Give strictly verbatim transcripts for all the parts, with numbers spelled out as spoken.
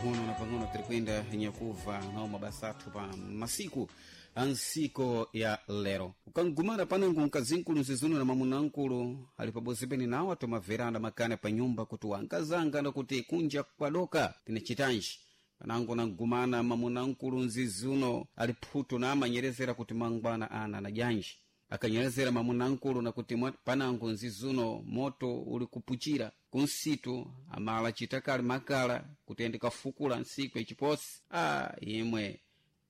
Pang'ono na pang'ono tirikwenda nyakuva nawo mabasa athu pa masiku a nsiko ya lero. Ukangumana panango mkazinkulu nzizuno na mamunankulu ali pabozi pene nawo atomamverana makana pa nyumba kuti wankazanga nakuti kunja kwadoka tinachitanji. Panango nangumana mamunankulu nzizuno ali phutu na amanyerezera kuti mangwana ana na janji. Akanyerezera mamunankulu nakuti mwa- panango nzizuno moto uli kupuchira kunsitu amala chitakali makala kuti ende kafukula nsiku yachiposi. A imwe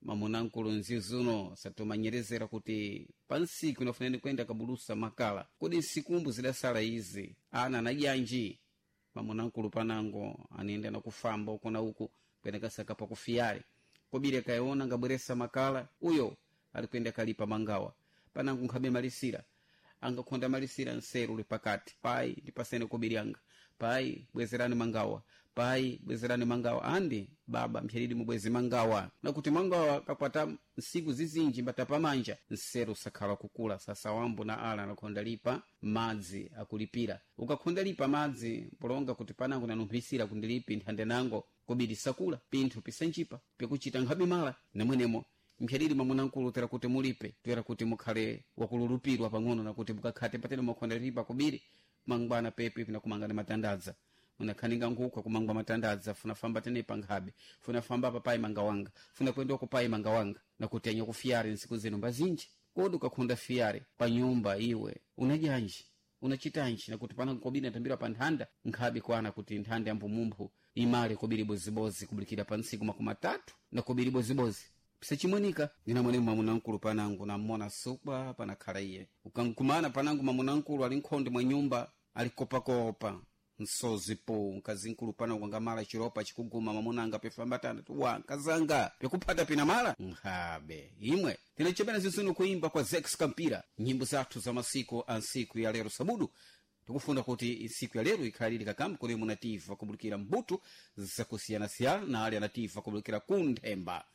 mamunankulu nzizuno satomanyerezera kuti pansiku inafuneni kwenda kabulusa makala, kodi nsikumbu zidasala izi ana najanji. Mamunankulu panango anenda nakufamba uku na uku kwenda kasaka pakufiyale kobiri akaona ngabweresa makala uyo alikwenda kalipa mangawa. Panango nkhabe malisira angakhonda malisira nseru uli pakati pai ndipasene kobiri anga, pai bwezerani mangawa, pai bwezerani mangawa, andi baba mphyalidi mubwezi mangawa. Nakuti mangawa kakwata nsiku zizinji mbatapamanja nseru sakhala kukula. Sasa wambo na ala anakhonda lipa madzi akulipira. Ukakhonda lipa madzi polonga kuti panango nanumphisira kundilipi nthande nango kobiri sakula pinthu pisanjipa pikuchita nkhabe mala namwenemo mphyalili mamunankulu tera kuti mulipe toera kuti mukhale wakululupirwa pang'ono nakuti mukakhate patene mwakhonda lipa kubiri mangwana pepi pinakumangana matandadza munakhaninga nkhuku akumangwa matandadza funafamba tenepa nkhabe funafamba papai mangawanga funa kwenda kupai mangawanga nakuti anya kufiyare nsiku zino mbazinji. Kodi ukakhonda fiyare pa nyumba iwe unajanji unachitanji nakuti pana kobiri natambira pa nthanda nkhabe kwana kuti nthanda yambumumphu imale kobiri bozibozi kubulikira pa ntsiku makumi atatu na kobiri bozibozi pisachimwenika. Ninamwene mamunankulu panango namona sukwa panakhala iye. Ukankumana panango mamunankulu ali nkhonde mwa nyumba alikopakopa nsozi po mkazinkulu panango angamala chiropa chikuguma mamunanga pefambatana wa nkazanga pekuphata pina mala nkhabe imwe. Tinachepena zinzino kuimba kwa Zex Kampira nyimbo zathu za masiku a nsiku ya lero sabudu. Tikufuna kuti nsiku ya lero ikhalire kakamba kodi munativa kubulikira mbuto zakusiyanasiyana na ali anativa kubulikira kunthemba.